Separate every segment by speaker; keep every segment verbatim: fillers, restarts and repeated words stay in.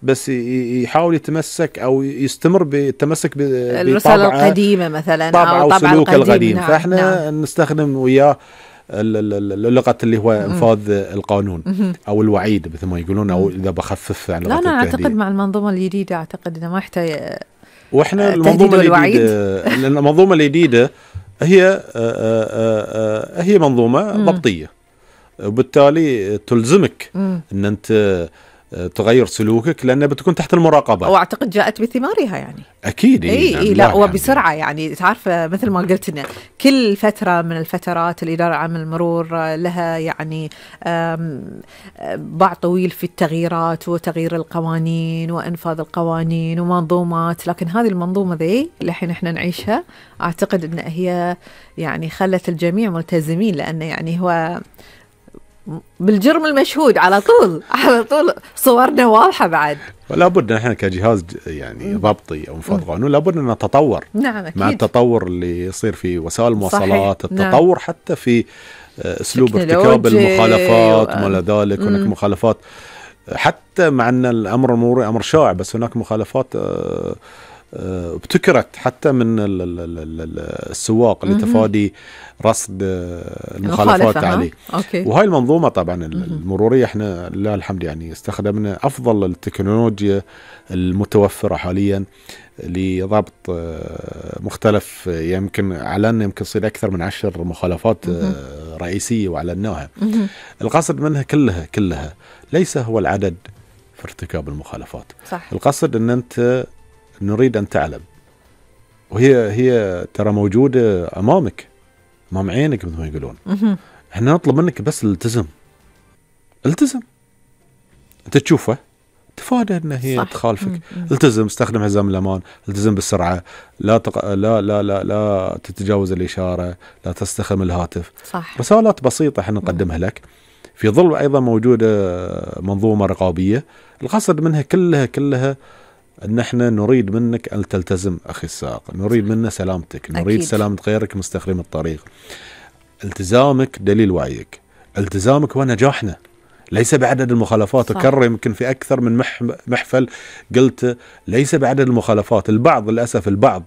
Speaker 1: بس يحاول يتمسك أو يستمر بالتمسك
Speaker 2: بالرسالة القديمة مثلا
Speaker 1: طبعا أو سلوك القديم.
Speaker 2: نعم.
Speaker 1: فإحنا
Speaker 2: نعم.
Speaker 1: نستخدم وياه اللغة اللي هو انفاذ القانون او الوعيد مثل ما يقولون، او اذا بخفف عن
Speaker 2: لا انا اعتقد مع المنظومه الجديده اعتقد انه ما يحتاج.
Speaker 1: واحنا المنظومه الجديده المنظومه الجديده هي هي منظومه ضبطيه، وبالتالي تلزمك ان انت تغير سلوكك لأنها بتكون تحت المراقبة،
Speaker 2: واعتقد جاءت بثمارها يعني
Speaker 1: اكيد.
Speaker 2: اي اي لا وبسرعه يعني تعرف مثل ما قلت لنا كل فتره من الفترات الاداره العامه للمرور لها يعني باع طويل في التغييرات وتغيير القوانين وانفاذ القوانين ومنظومات، لكن هذه المنظومه ذي اللي الحين احنا نعيشها اعتقد ان هي يعني خلت الجميع ملتزمين، لانه يعني هو بالجرم المشهود على طول على طول صورنا واضحة بعد.
Speaker 1: ولا بد احنا كجهاز يعني ضبطي او انفاذ قانون لابد ان نتطور.
Speaker 2: نعم أكيد.
Speaker 1: مع التطور اللي يصير في وسائل المواصلات، التطور نعم. حتى في اسلوب ارتكاب المخالفات وما الى ذلك. هناك مخالفات حتى مع ان الامر المروري امر شائع، بس هناك مخالفات ابتكرت حتى من السواق لتفادي رصد المخالفات عليه. وهاي المنظومة طبعا المرورية احنا لله الحمد يعني استخدمنا أفضل التكنولوجيا المتوفرة حاليا لضبط مختلف، يمكن أعلنا يمكن يصير أكثر من عشر مخالفات رئيسية وأعلناها. القصد منها كلها كلها ليس هو العدد في ارتكاب المخالفات،
Speaker 2: صح.
Speaker 1: القصد أن أنت نريد أن تعلم، وهي هي ترى موجودة أمامك أمام عينك مثل ما يقولون. احنا نطلب منك بس الالتزم، التزم أنت تشوفه تفادى أن هي تخالفك. التزم، استخدم حزام الأمان، التزم بالسرعة، لا, تق... لا لا لا لا تتجاوز الإشارة، لا تستخدم الهاتف.
Speaker 2: صح.
Speaker 1: رسالات بسيطة احنا نقدمها لك. في ظل أيضا موجودة منظومة رقابية القصد منها كلها كلها أن احنا نريد منك أن تلتزم أخي السائق، نريد منا سلامتك، نريد أكيد. سلامة غيرك مستخدم الطريق. التزامك دليل وعيك، التزامك هو نجاحنا، ليس بعدد المخالفات. أكرر يمكن في أكثر من محفل قلت ليس بعدد المخالفات. البعض للأسف البعض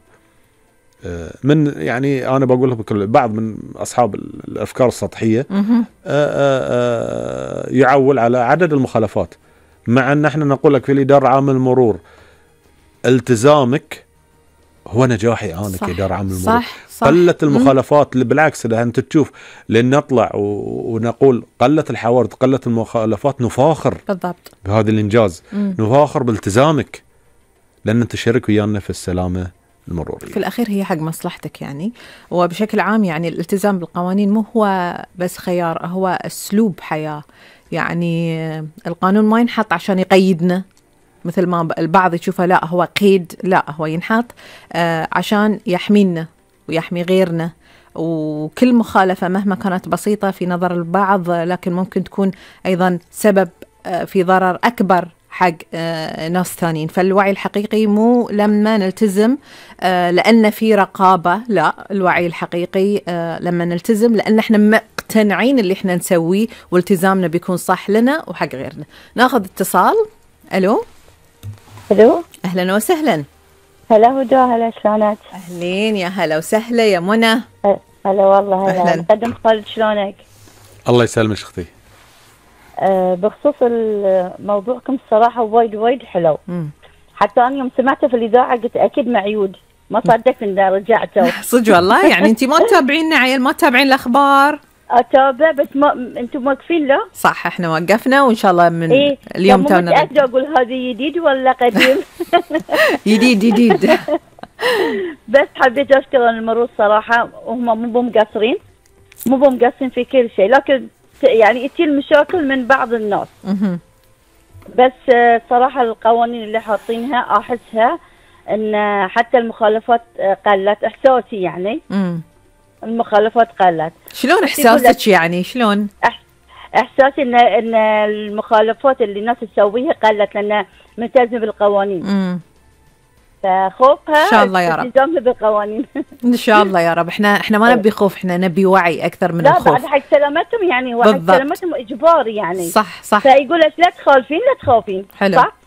Speaker 1: من يعني أنا بقول لكم بعض من أصحاب الأفكار السطحية يعول على عدد المخالفات، مع أن احنا نقول لك في الإدارة العامة للمرور التزامك هو نجاحي أنا كإدارة عامة للمرور. قلت المخالفات اللي بالعكس إذا أنت تشوف لأن نطلع ونقول قلت الحوادث قلت المخالفات نفاخر
Speaker 2: بالضبط
Speaker 1: بهذا الإنجاز. مم. نفاخر بالتزامك لأن أنت شارك ويانا في السلامة المرورية.
Speaker 2: في الأخير هي حق مصلحتك يعني. وبشكل عام يعني الالتزام بالقوانين مو هو بس خيار، هو أسلوب حياة. يعني القانون ما ينحط عشان يقيدنا مثل ما البعض يشوفه، لا هو قيد، لا هو ينحط آه عشان يحمينا ويحمي غيرنا. وكل مخالفة مهما كانت بسيطة في نظر البعض لكن ممكن تكون أيضا سبب آه في ضرر أكبر حق آه ناس ثانيين. فالوعي الحقيقي مو لما نلتزم آه لأن في رقابة، لا الوعي الحقيقي آه لما نلتزم لأن احنا مقتنعين اللي احنا نسويه والتزامنا بيكون صح لنا وحق غيرنا. ناخذ اتصال. ألو
Speaker 3: ألو
Speaker 2: أهلا وسهلا.
Speaker 3: هلا هدى، هلا شلونك؟
Speaker 2: أهلين يا هلا وسهلا يا منى.
Speaker 3: هلا والله هلا. مقدم خالد شلونك؟
Speaker 1: الله يسلمك اختي.
Speaker 3: أه بخصوص موضوعكم الصراحة وايد وايد حلو. م. حتى أنا يوم سمعته في الإذاعة قلت أكيد معيود، ما صدقت إن رجعته.
Speaker 2: صدق والله يعني أنت ما تتابعيننا عيل، ما تتابعين الأخبار؟
Speaker 3: أتابع بس ما أنتم واقفين له.
Speaker 2: صح احنا وقفنا وإن شاء الله من إيه؟ اليوم
Speaker 3: تونا متأكدة أقول هذا جديد ولا قديم؟
Speaker 2: جديد جديد.
Speaker 3: بس حبيت أشكر المرور صراحة، وهم مو مقصرين مو مقصرين في كل شيء، لكن يعني تجي المشاكل من بعض الناس. بس صراحة القوانين اللي حاطينها أحسها إن حتى المخالفات قلت، إحساسي يعني. م. المخالفات قلت.
Speaker 2: شلون إحساسك يعني شلون؟
Speaker 3: إحساسي إن إن المخالفات اللي الناس تسويها قلت لأن ملتزم بالقوانين. امم فخوفها
Speaker 2: إن شاء الله يا رب.
Speaker 3: التزامها بالقوانين.
Speaker 2: إن شاء الله يا رب. إحنا إحنا ما نبي خوف، إحنا نبي وعي أكثر من
Speaker 3: لا
Speaker 2: الخوف.
Speaker 3: لا بعد حق سلامتهم يعني، وحق سلامتهم إجباري يعني.
Speaker 2: صح صح.
Speaker 3: فيقول لك لا تخالفين لا تخافين.
Speaker 2: حلو.
Speaker 3: صح؟